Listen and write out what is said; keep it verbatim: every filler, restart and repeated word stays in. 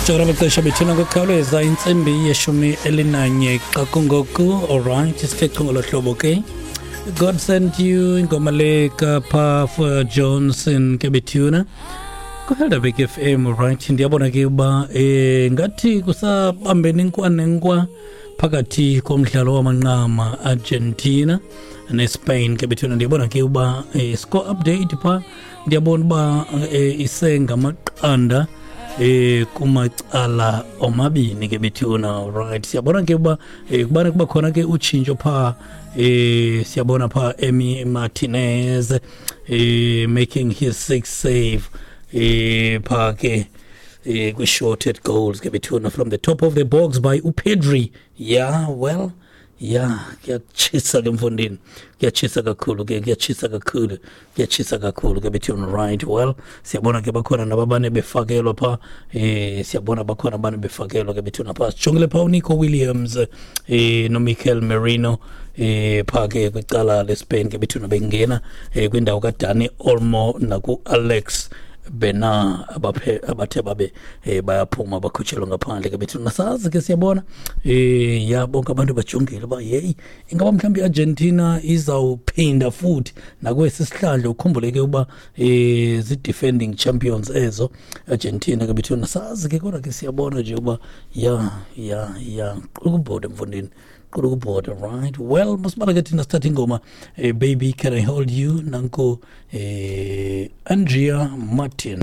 Sijongela amaxesha bethuna ngokukhawuleza, intsimbi yeshumi elinanye xa kungoku. Alright, sithe chu ngolo hlobo ke. God Sent You, ingoma le kaPuff Johnson ke bethuna kuHelderberg F M. Right, ndiyabona ke uba eh ngathi kusabambene inkwa nenkwa phakathi komdlalo wamanqama, Argentina neSpain ke bethuna. Ndiyabona ke uba eh, score update pha, ndiyabona uba eh, isengamaqanda eh kumacala omabini ke bethuna. Right, siyabona ke uba eh, kubana kuba khona ke utshintsho pha. eh siyabona pha Emi Martinez eh making his sixth save eh pha ke eh kwi-shorted goals ke bethuna, from the top of the box by uPedri. Yeah, well, yeah, kuyatshisa ke mfondini, kuyatshisa kakhulu ke, kuyatshisa kakhulu, kuyatshisa kakhulu ke bethuna. Right, well, siyabona ke bakhona nababane befakelwa pha. eh siyabona bakhona abane befakelwa ke bethuna pha. Sijongile pha uNico Williams eh noMikel Merino eh pha ke kwicala leSpain ke bethuna, bengena eh kwindawo kaDani Olmo naku Alex Bena abaphe abathe babe eh bayaphuma, bakhutshelwa ngaphandle ke bethuna. Sazi ke siyabona eh ya, bonke abantu bajongile ba hey, ingaba mhlawumbe iArgentina izawuphinda futhi nakwesi sihlandlo? Ukhumbule ke uba eh zi defending champions ezo Argentina ke bethuna. Sazi ke, kodwa ke siyabona nje uba ya ya ya ukubhoda mfondini, qulukubhoda. Right, well, masibala ke thina sithatha ingoma eh, "Baby Can I Hold You", nanko eh Andrea Martin.